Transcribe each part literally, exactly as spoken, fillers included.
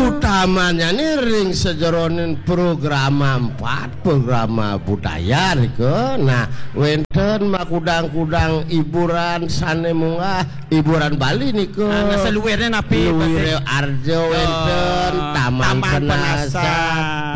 Utamanya nih ring sajeroning programa empat, programa budaya nika. Nah, wénten makudang-kudang hiburan sané munggah, hiburan Bali nika. Ah, nah, saluirné napi, Luwiré Pak? Arja wénten, Taman Penasa,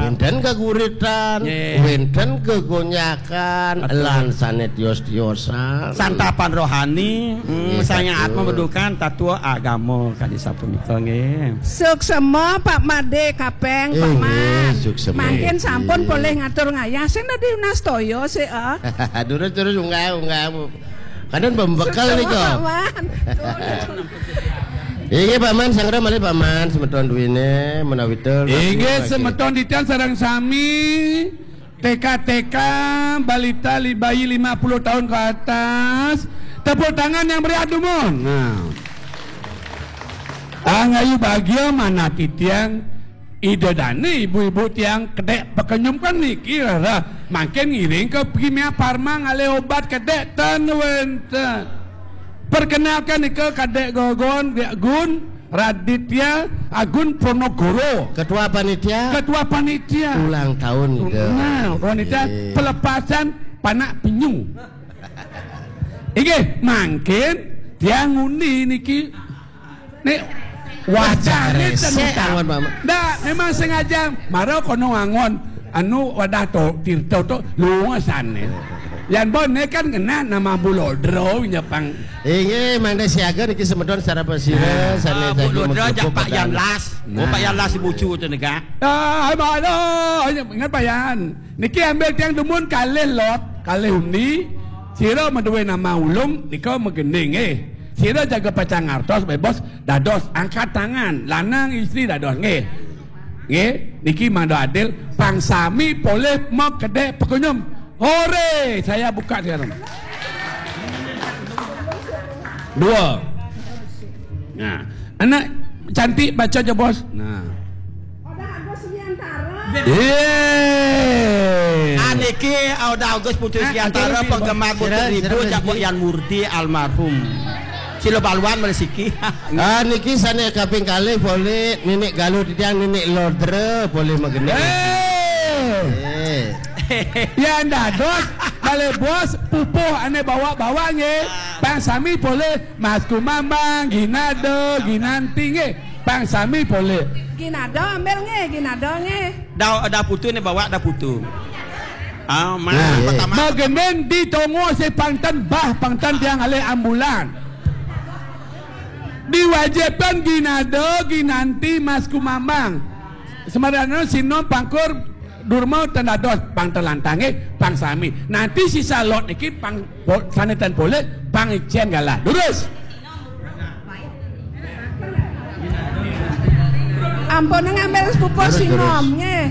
wénten geguritan, wénten gegonjakan, lan sané tios-tiosan. Santapan rohani, hmm, sangat membutuhkan tatua agama kadi sapunika nggih. Suksema Pak Madé Kapeng, Pak Man. Suksema. Mangkin sampun polih ngatur ngayah. Sing dadi unastaya sih, ah. Durus-durus unggah-unggah. Kadén pembekel nika. Pak Man. Inggih, Pak Man, sanggra malih Pak Man, semeton duwine menawi tel. Inggih, semeton titiang sareng sami. T K T K, balita li-, bayi lima puluh tahun ke atas. Tepuk tangan yang meriah dumun. Nah. Angayu bahagia manah titiang Ida dane ibu-ibu tiang kedek pekenyum kan niki rara mangkin ngiring ke Kimia Farma ngalih obat kedek ten wenten. Perkenalkan nika kadek Gogon, Gun, Raditya Agun Pronogoro. Ketua panitia. Ketua panitia. Ulang tahun nika. Nah, panitia pelepasan panak penyu. Inggih, mangkin tiang ngundi niki. Nek wacane ndak, memang sengaja mara kono wangon anu wadah to tirta to lunga sane. Yan bon ne kan kena nama bulodro nyepang. Inggih, mangda siaga niki semeton secara pesira sane. Bulodro jak Pak Yan Las. Oh, Pak Yan Las ibu cu tu nega. Ah, mana? Ingat Pak Yan. Niki ambil tiang dumun kalih lot, kalih undi. Sira maduwe nama ulung nika magending eh. Sira jaga pacang ngartos bebos dados angkat tangan, lanang istri dados nggih. Nggih, niki mangda adil, pang sami polih makedek pekunyum. Hore, saya buka sekarang. Dua. Nah, anak cantik baca aja bos. Nah. Yeay. Aniki Oda Agus Putu Siantara penggemar Putu Ribu jak Yan Murti almarhum. Sila baluan malih siki. Ah, niki sane kaping kalih polih Ninik Galuh titiang Ninik Lodra polih magending. Eh. Yan dados kalih bos pupuh ane bawa-bawa nggih. Pang sami polih Mas Kumambang, Ginada, Ginanti nggih. Pang sami polih. Ginada ambil nggih, Ginada nggih. Da, da putu ne bawa da putu. Ah, nah, pertama. Magending di tongo si pangten bah, pangten tiang alih ambulan. Diwajibkan Ginada, Ginanti, Mas Kumambang. Semarana Sinom Pangkur Durma ten dados pang telantange pang sami. Nanti sisa lot niki pang po-, sanetan polih pang icen galah. Durus. Ampun ngambil pupuh Sinom nggih.